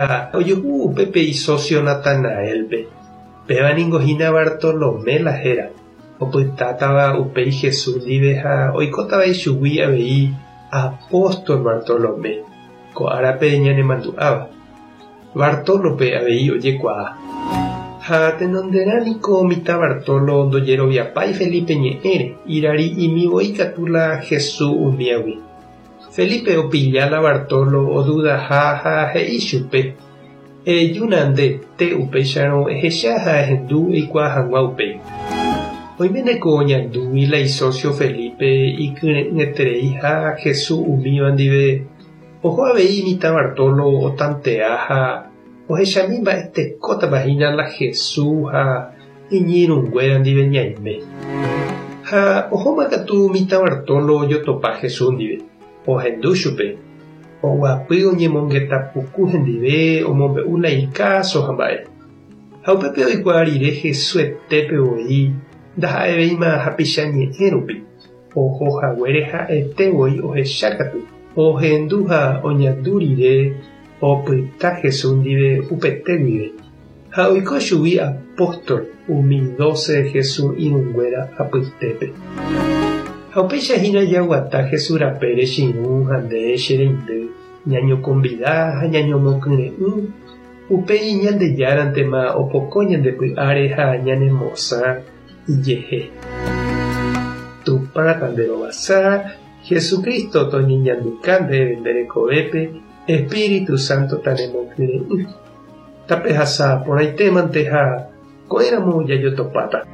Ha ojuhu upépe isósio Natanaélpe, péva ningo hína Bartolomé la héra, opytátava upéi Jesús ndive ha oikótava ichugui avei apóstol Bartolomé, ko árape ñanemandu'áva. Bartólope avei ojekuaa. Ha tenonderã niko mitã Bartolo ndojeroviapái Felipe ñe'ẽre, irari'imi voi katu la Jesús umíagui. Felipe opilla la Bartolo odudaha ha he'i chupe, Ejúna nde te upéicharõ ehecha ha ehendu eikuaa hag̃ua upéi. Oiméne ko oñandúgui la isósio Felipe ikyre'ỹetereiha Jesús umíva ndive, oho avei mitã Bartolo otantea ha ohechami mba'etekótapa hína la Jesús ha iñirũnguéra ndive ñaime. Ha ohóma katu mitã Bartolo ojotopa Jesús ndive, ohendu chupe, oguapy oñemongeta puku hendive omombe'u la ikáso ha mba'e. Ha upépe oikuaa rire Jesuetépe voi ndaha'evéima hapicha ñe'ẽ rupi, oho haguére ha'ete voi ohecha katu, ohendu ha oñandu rire opyta Jesús ndive upete guive. Ha oiko chugui apóstol umi dóse Jesús irũnguéra apytépe. Ha upéicha hína jaguata Jesús rapére che irũ ha nde che reindy, ñañokombida ha ñañomokyre'ỹ, upéi Ñandejárantema opoko ñande py'áre ha ñanemosã ijehe. Tupã tanderovasa, Jesucristo toñeñanduka ndéve nde rekovépe, Espíritu Santo tanemokyre'ỹ. Tapehasa porãitémante ha ko'ẽramo jajotopáta.